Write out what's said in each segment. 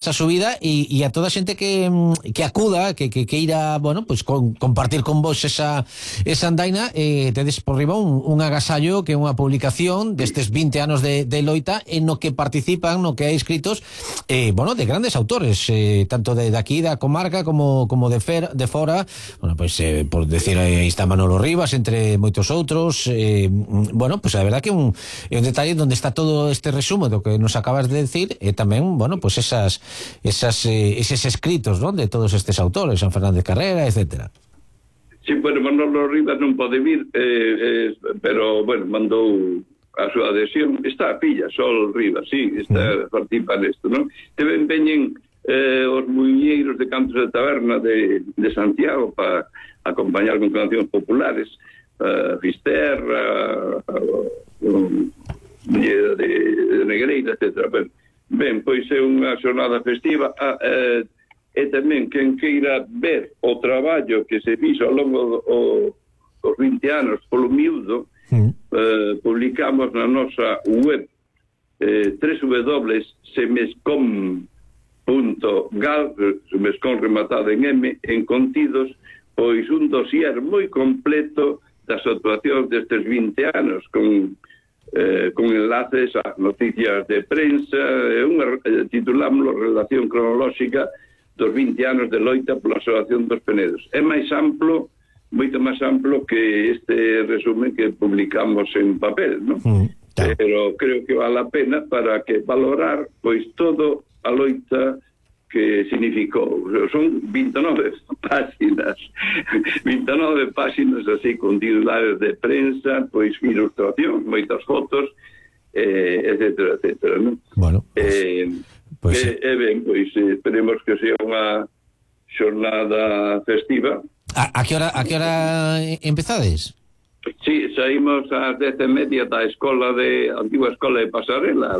esa subida e a toda a xente que acuda, que irá, bueno, pues compartir con vos esa andaina, tedes por riba un agasallo que é unha publicación destes 20 anos de loita en no que participan, no que hai escritos bueno, de grandes autores, tanto de aquí da comarca como de fora, bueno, pues por decir, aí está Manolo Rivas entre moitos outros, bueno, pues a verdad que é un detalle onde está todo este resumo do que nos acabas de decir, e tamén, bueno, pues eses escritos, ¿no?, de todos estes autores, San Fernández Carrera, etcétera. Sí, bueno, Manolo Rivas non pode vir, pero, bueno, mandou a súa adhesión. Está a pilla, Sol Rivas, sí, participa nesto, non? Tamén veñen os muiñeiros de cantos de taberna de Santiago para acompañar con cancións populares, Fisterra, de Negreira, etcétera. Ben, pois é unha xornada festiva, e tamén quen queira ver o traballo que se fixo ao longo dos 20 anos polo miúdo, publicamos na nosa web www.semescom.gal, semescom rematado en M, en contidos, pois un dossier moi completo das actuacións destes 20 anos, con enlaces a noticias de prensa, titulámoslo Relación Cronolóxica dos 20 anos de loita pola Asociación dos Penedos. É máis amplo, moito máis amplo que este resumen que publicamos en papel, non? Pero creo que vale a pena para que valorar pois todo a loita que significou. Son 29 páxinas 29 páxinas así, con titulares de prensa, pois ilustración, moitas fotos, etcétera, etcétera, non? Bueno, pois ben, pois esperemos que sea unha xornada festiva. A que hora empezades? Sí, saímos ás 10:30 da antigua escola de Pasarela,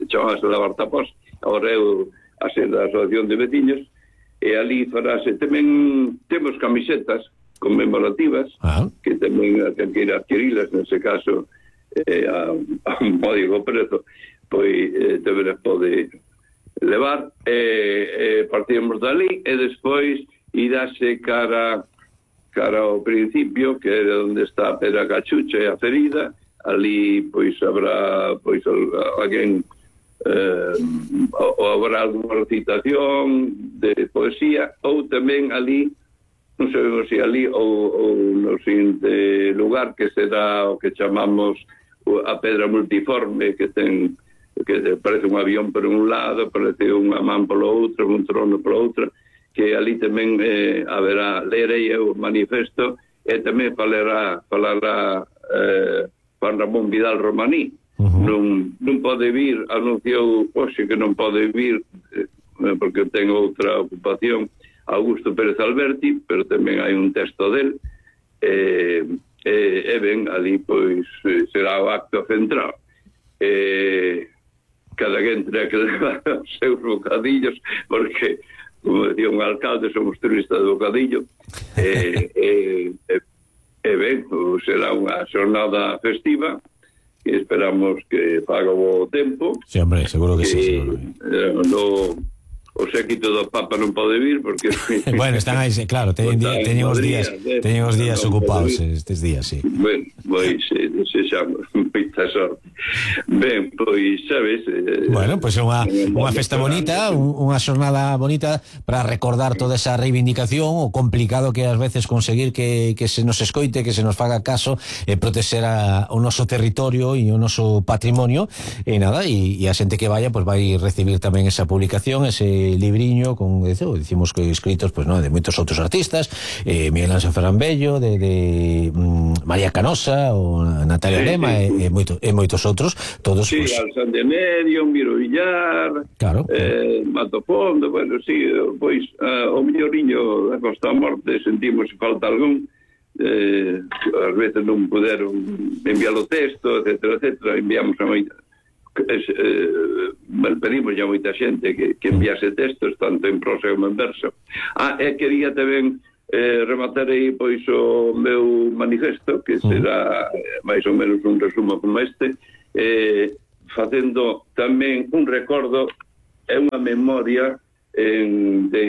chamase Lavartapós, agora eu a ser da Asociación de Veciños, e ali farase tamén, temos camisetas conmemorativas, que tamén quen queira adquirilas, nese caso a un módico prezo, pois tamén as pode levar, partimos dali, e despois irase cara ao principio, que era onde está a Pedra Cachucha e a Ferida. Ali pois habrá pois alguén ou habrá alguna recitación de poesía, ou tamén ali, non sabemos se ali ou no seguinte lugar, que será o que chamamos a Pedra Multiforme, que parece un avión por un lado, parece unha man polo outro, un trono polo outro, que ali tamén haberá, lerei o manifesto, e tamén falará Juan Ramón Vidal Romaní. Non pode vir, anunciou hoxe que non pode vir porque ten outra ocupación, Augusto Pérez Alberti, pero tamén hai un texto del, e ben, ali pois será o acto central. Cada quen terá que levar os seus bocadillos, porque, como decía un alcalde, somos turistas de bocadillo, e ben, será unha xornada festiva, que esperamos que faga o tempo. Sí, hombre, seguro que sí. O séquito do Papa non pode vir porque bueno, están aí, claro, teñen os días ocupados estes días, sí. Ben, pois desexamos moita sorte. Ben, pois, sabes, bueno, pois é unha festa bonita, unha xornada bonita para recordar toda esa reivindicación, o complicado que ás veces conseguir que se nos escoite, que se nos faga caso, protexer o noso territorio e o noso patrimonio, e nada, e a xente que vaya pois vai recibir tamén esa publicación, ese libriño con, dicimos que escritos pues, no, de moitos outros artistas, Miguel Ángel Ferrambello, de María Canosa, ou Natalia Lema, e moitos outros, todos. Sí, pues, Alsan de Medio, Miro Villar, claro, Mato Fondo, bueno, sí, pois o melloriño da Costa Morte sentimos se falta algún, ás veces non puderon enviar o texto, etcétera, etcétera, enviamos a moita. Pedimos ya moita xente que enviase textos tanto en prosa como en verso. E quería tamén rematar aí pois o meu manifesto, que será máis ou menos un resumo como este, facendo tamén un recordo é unha memoria de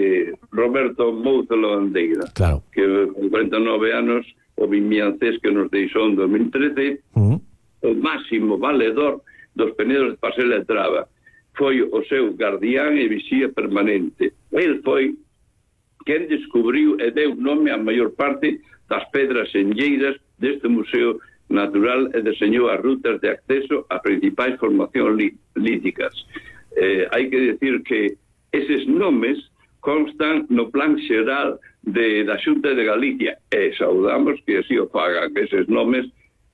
Roberto Mouzo Lavandeira, claro, que con 49 anos o vimiancés que nos deixou en 2013, o máximo valedor dos penedos de Pasela e Traba, foi o seu guardián e vixía permanente. El foi quen descubriu e deu nome a maior parte das pedras enlleiras deste museo natural e deseñou as rutas de acceso a principais formacións líticas. Hai que decir que eses nomes constan no plan xeral da Xunta de Galicia e saudamos que así o fagan, que eses nomes,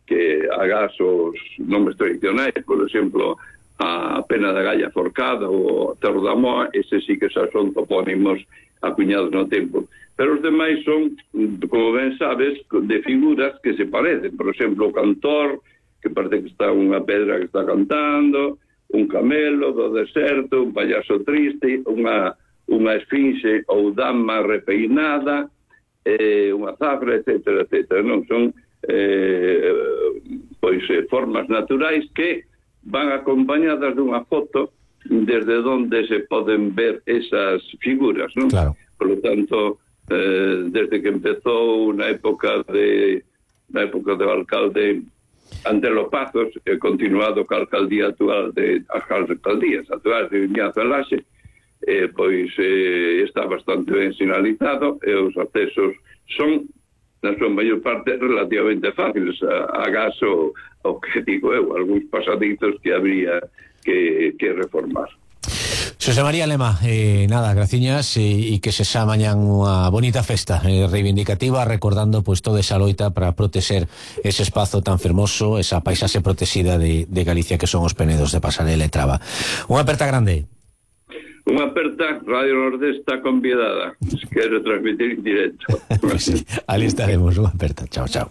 que agás os nomes tradicionais, por exemplo, a Pena da Galla Forcada ou Cerro da Moa, eses sí que xa son topónimos acuñados no tempo. Pero os demais son, como ben sabes, de figuras que se parecen. Por exemplo, o cantor, que parece que está unha pedra que está cantando, un camelo do deserto, un payaso triste, unha esfinxe ou dama repeinada, unha zafra, etc. Non son formas naturais que van acompañadas dunha foto desde onde se poden ver esas figuras, non? Claro. Por lo tanto, desde que empezou na época do alcalde Antelo Pazos, continuado ca alcaldía actual as alcaldías actuales de Vimianzo e Laxe, pois está bastante ben sinalizado e os accesos son, na súa maior parte, relativamente fáciles. Agás o que digo eu, algúns pasadizos que habría que reformar. Xosé María Lema, nada, graciñas e que se xa mañan unha bonita festa reivindicativa, recordando pois toda esa loita para protexer ese espazo tan fermoso, esa paisaxe protexida de Galicia que son os penedos de Pasarela e Traba. Unha aperta grande. Unha aperta, Radio Nordés está convidada, se quero transmitir en directo. Pues sí, ali estaremos, unha aperta, chao, chao.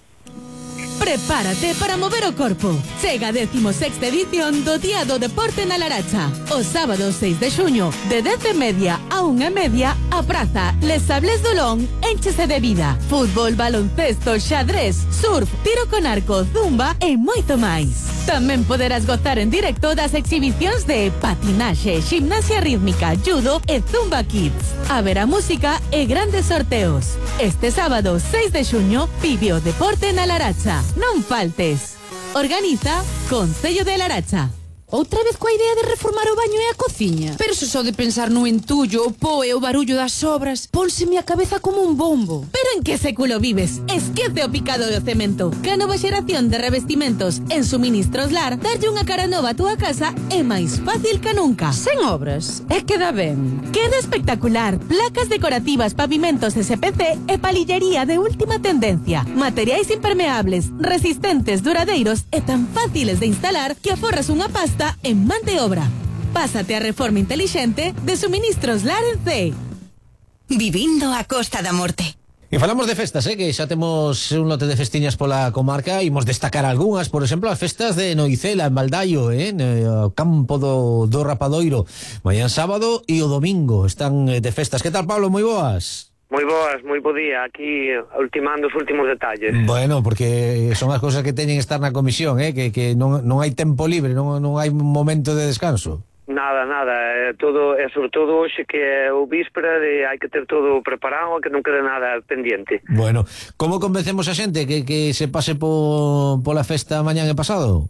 Prepárate para mover o corpo. Chega a 16ª edición do Día do Deporte na Laracha. O sábado 6 de xuño, de 10:30 a 1:30, a praza Les Sables do Lón énchese de vida. Fútbol, baloncesto, xadrez, surf, tiro con arco, zumba e moito máis. Tamén poderás gozar en directo das exhibicións de patinaxe, gimnasia rítmica, judo e zumba kids. Haberá música e grandes sorteos. Este sábado 6 de xuño, vive o deporte na Laracha. Non faltes. Organiza Concello de Laracha. Outra vez coa idea de reformar o baño e a cociña. Pero se só de pensar no entullo, o po e o barullo das obras, pónseme a cabeza como un bombo. Pero en que século vives? Esquece o picado do cemento. Que a nova xeración de revestimentos en Suministros Lar, darlle unha cara nova a túa casa é máis fácil que nunca. Sen obras, é que dá ben. Queda espectacular. Placas decorativas, pavimentos SPC e palillería de última tendencia. Materiais impermeables, resistentes, duradeiros e tan fáciles de instalar que aforras unha pasta en man de obra. Pásate a reforma intelixente de Suministros Lar en C. Vivindo a Costa da Morte. E falamos de festas, que xa temos un lote de festiñas pola comarca. Imos destacar algunhas, por exemplo, as festas de Noicela, en Baldaio, no campo do Rapadoiro. Mañán sábado e o domingo están de festas. Que tal, Pablo? Moi boas. Moi boas, moi bo día, aquí ultimando os últimos detalles. Bueno, porque son as cousas que teñen que estar na comisión, que non hai tempo libre, non hai momento de descanso. Nada, todo, e sobre todo hoxe que é o víspera de hai que ter todo preparado, que non quede nada pendiente. Bueno, como convencemos a xente que se pase pola festa mañán e pasado?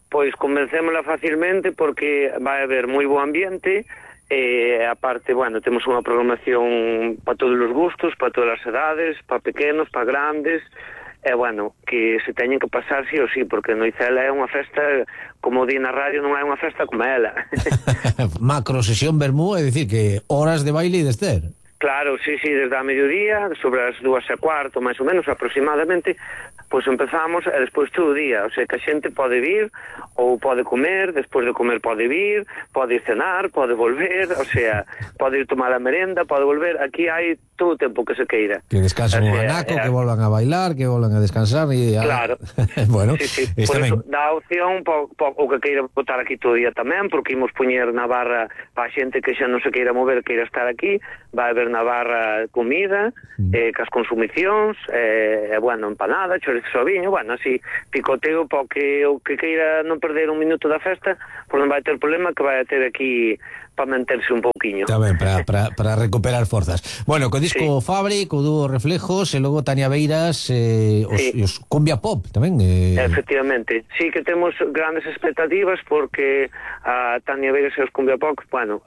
Pois convencémola facilmente porque vai haber moi bo ambiente. Aparte, bueno, temos unha programación para todos os gustos, para todas as edades, para pequenos, para grandes, bueno, que se teñen que pasar sí ou sí, porque Noicela é unha festa, como di na radio, non é unha festa como ela. Macro sesión vermú, é dicir, que horas de baile e de ester. Claro, sí, desde a mediodía, sobre as 2:15, máis ou menos, aproximadamente, pois empezamos e despois todo o día, o sea, que a xente pode vir ou pode comer, despois de comer pode vir, pode ir cenar, pode volver, o sea, pode ir tomar a merenda, pode volver, aquí hai todo o tempo que se queira. Que descansen un anaco, que volvan a bailar, que volvan a descansar e claro. Bueno, sí. Por eso dá opción o que queira botar aquí todo o día tamén, porque imos poñer na barra para a xente que xa non se queira mover, queira estar aquí, vai haber na barra comida, cas consumicións, bueno, empanada, chorizo soviño, bueno, así, picoteo para o que queira non perder un minuto da festa, pois non vai ter problema, que vai ter aquí manterse un pouquiño. Tamén, para recuperar forzas. Bueno, co disco Fabri, co dúo Reflejos, e logo Tania Beiras, os Cumbia Pop tamén. Efectivamente, sí que temos grandes expectativas porque a Tania Beiras e os Cumbia Pop, bueno,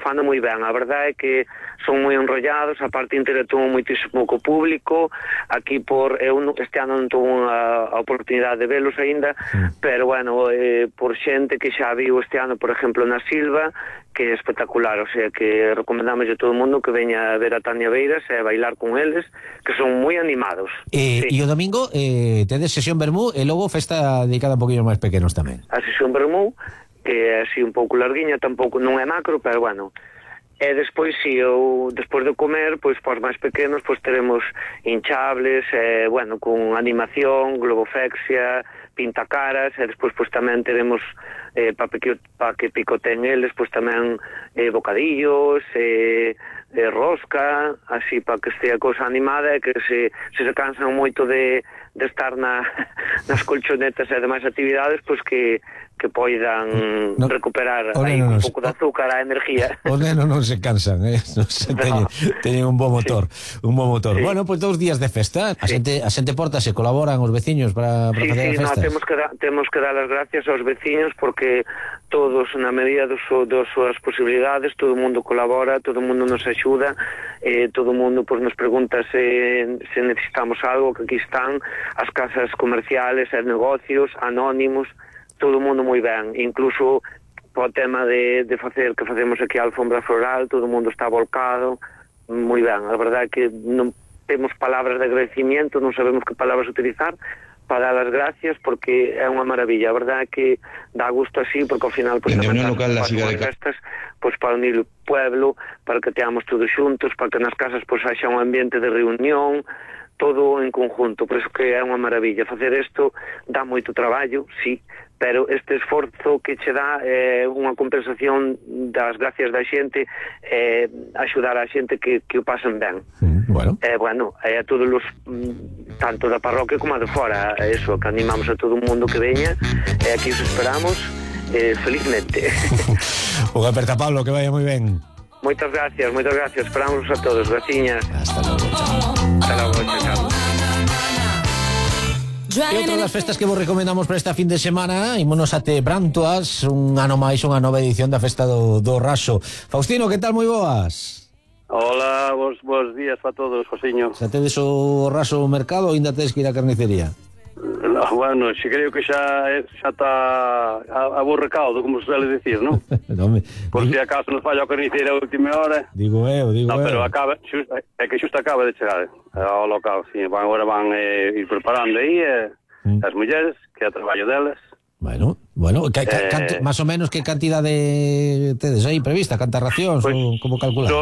fano moi ben, a verdade é que son moi enrollados, a parte interactúan moitísimo co público, aquí este ano non tuve a oportunidade de velos aínda, pero bueno, por xente que xa viu este ano, por exemplo, na Silva, que é espectacular, o sea, que recomendamos a todo o mundo que veña a ver a Tania Beiras e a bailar con eles, que son moi animados. E o domingo tedes sesión Bermú e logo festa dedicada a poquinhos máis pequenos tamén. A sesión Bermú, que é así un pouco larguiña, tampouco non é macro, pero bueno. E despois, si, despois de comer, pois, para os máis pequenos, pois, teremos hinchables, bueno, con animación, globofexia, pintacaras, e despois, pois, tamén teremos, para que picoten eles, pois, tamén bocadillos, rosca, así, para que estea a cousa animada, e que se cansan moito de estar nas colchonetas e demais actividades, pois, que poidan recuperar aí un pouco de azúcar, a energía. Os nenos non se cansan, teñen un bo motor, un bo motor. Sí. Bueno, pois 2 días de festa, a xente portase, colaboran os veciños para facer a festa. Temos que dar as gracias aos veciños porque todos, na medida das súas posibilidades, todo o mundo colabora, todo o mundo nos axuda, todo o mundo nos pregunta se necesitamos algo, que aquí están as casas comerciales, os negocios, anónimos, todo o mundo moi ben, incluso o tema de facer que facemos aquí a alfombra floral, todo o mundo está volcado moi ben, a verdade é que non temos palabras de agradecimiento, non sabemos que palabras utilizar para dar as gracias porque é unha maravilla, a verdade é que dá gusto así porque ao final pues, tamén local, as festas pues, para unir o pueblo, para que teamos todos xuntos, para que nas casas pues, haxa un ambiente de reunión, todo en conjunto, por eso que é unha maravilla facer isto, dá moito traballo, sí, pero este esforzo que che dá é unha compensación das gracias da xente, axudar a xente que o pasen ben. Bueno, a todos os tanto da parroquia como a de fora, eso, que animamos a todo o mundo que veña, e aquí os esperamos felizmente. Unha aperta, Pablo, que vaya moi ben. Moitas gracias, esperamos a todos, graciñas. Hasta logo, chao. Hasta logo, chao. E outra das festas que vos recomendamos para esta fin de semana, ímonos até Brantoas, un ano máis, unha nova edición da festa do Raso. Faustino, que tal, moi boas? Hola, bons días para todos, Josiño. Xa tedes o Raso ao mercado ou ainda tedes que ir á carnicería? No, bueno, xe creo que xa está a bo recaudo, como se suele decir, non? No, por si acaso nos falla a carniceira a última hora. Digo eu. Pero é que xusto acaba de chegar ao local, sí. Agora van ir preparando aí as mulleres, que é o traballo delas. Bueno, máis ou menos que cantidade tedes aí prevista, cantas racións, pues, ou como calcular?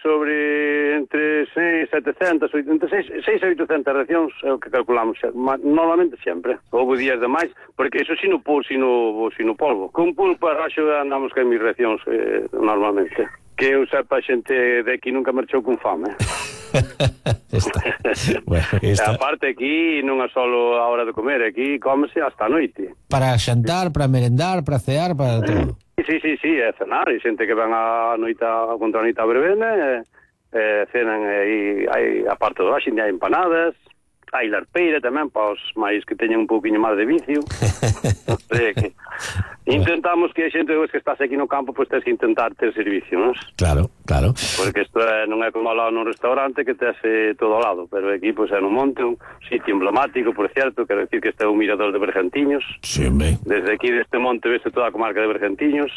Sobre entre 700, 600 e 800 racións é o que calculamos normalmente sempre. Houve días de máis, porque iso sino polvo. Con pulpo a raxo andamos que mis racións normalmente. Que eu sepa, a xente de aquí nunca marchou con fame. Está. A parte aquí non é só a hora de comer, aquí cómese hasta a noite. Para xantar, para merendar, para cear, para todo. Sí, é cenar, e xente que ven a noite contra a noite a verbena, cenan aí, a parte do axin, hai empanadas, hai larpeira tamén, para os máis que teñen un pouquinho máis de vicio. Intentamos que a xente que estás aquí no campo, pois tens que intentar ter servicio, non? Claro. Porque isto non é como ao lado nun restaurante que tes todo ao lado, pero aquí pois é nun monte, un sitio emblemático, por certo, quero decir que este é un mirador de Bergantiños. Sí, ben. Desde aquí deste monte veste toda a comarca de Bergantiños,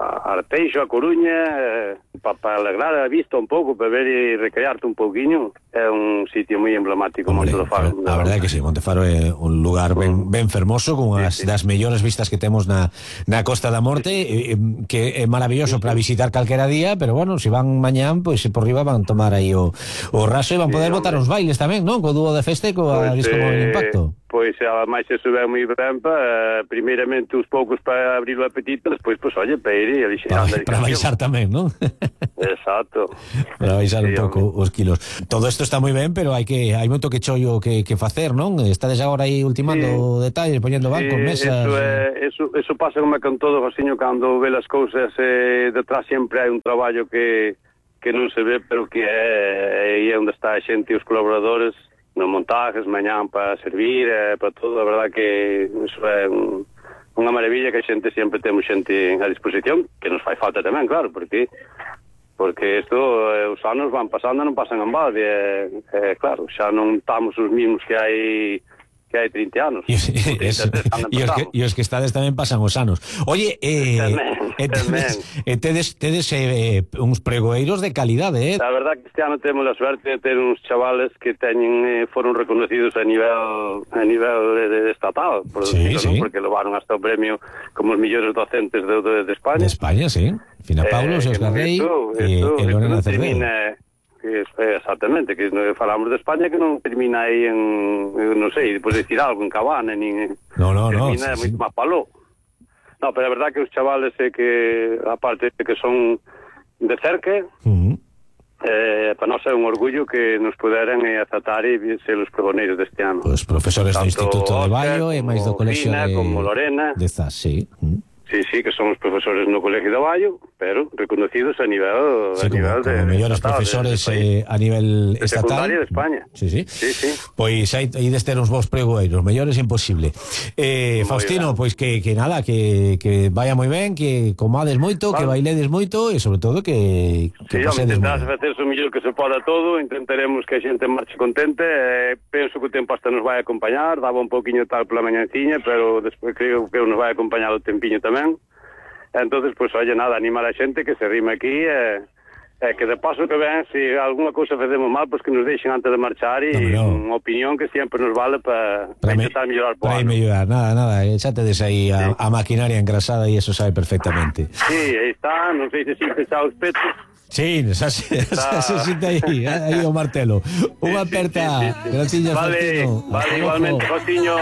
a Arteixo, a Coruña, para alegrar a vista un pouco, para ver e recrearte un pouquiño. É un sitio moi emblemático, Monte do Faro. A verdade é que sí, Monte Faro é un lugar ben fermoso, con as das mellores vistas que temos na Costa da Morte, que é maravilloso para visitar calquera día, pero bueno, se van mañán, pois por riba van tomar aí o Raso e van poder botar os bailes tamén, non? Co dúo de festa e coa disco móvil Impacto. Pois, ademais, se sube moi ben primeiramente os poucos para abrir o apetito, despois, pois, oye, para ir e para baixar tamén, non? Exacto. Para baixar un Sí, pouco os kilos. Todo isto está moi ben, pero hai moito que chollo que facer, non? Estades agora aí ultimando detalles, poñendo bancos, mesas. Eso pasa como con todo, Josiño, cando ve as cousas detrás sempre hai un traballo que non se ve, pero que é onde está a xente e os colaboradores nos montajes, mañán para servir, para todo. A verdad que iso é unha maravilla, que a xente sempre temos xente a disposición, que nos fai falta tamén, claro, porque isto, os anos van pasando, non pasan en balde, claro, xa non estamos os mismos que hai 30 anos. E os que estades tamén pasan os anos. Oye, tedes uns pregoeiros de calidade, A verdad que este ano temos a suerte de ter uns chavales que foron reconocidos a nivel estatal, sí. Porque levaron hasta o premio como os mellores docentes de España. De España, sí. Fina Paulo, Óscar Rey e Lorena Cerdedo. Exactamente, que falamos de España, que non termina aí non sei, depois de decir algo en Cabana, termina moito máis paló. No, pero a verdad que os chavales que, aparte de que son de cerca, para nós é un orgullo que nos puderan aceptar e ser os pregoneiros deste ano. Os profesores do Instituto de Baio e máis do Colexio como Lorena, de Zas, sí. Sí, que son os profesores no Colegio de Baio, pero reconocidos a nivel como mellores profesores a nivel de estatal. Secundaria de España. Sí. Pois aí deste uns vos pregoeiros, mellores imposible. Faustino, pois que nada, que vaya moi ben, que comades moito, que bailedes moito e sobre todo que pasedes intentarás facer o mellor que se poda todo, intentaremos que a xente marche contente, penso que o tempo hasta nos vai acompañar, daba un pouquiño tal pola mañanciña, pero despois creo que nos vai acompañar o tempiño tamén. Entonces, pues, oye, nada, animar a xente que se rime aquí, que de paso que ven, se alguna cousa facemos mal, pues que nos deixen antes de marchar e unha opinión que sempre nos vale para intentar mellorar po ano. Para mellorar, nada, xa tedes aí a maquinaria engrasada e eso sabe perfectamente. Sí, aí está, non sei se sintes xa os petos. Sí, xa se sinta aí o martelo. Unha aperta. Graciñas, Vale, Faustino. igualmente, Faustino.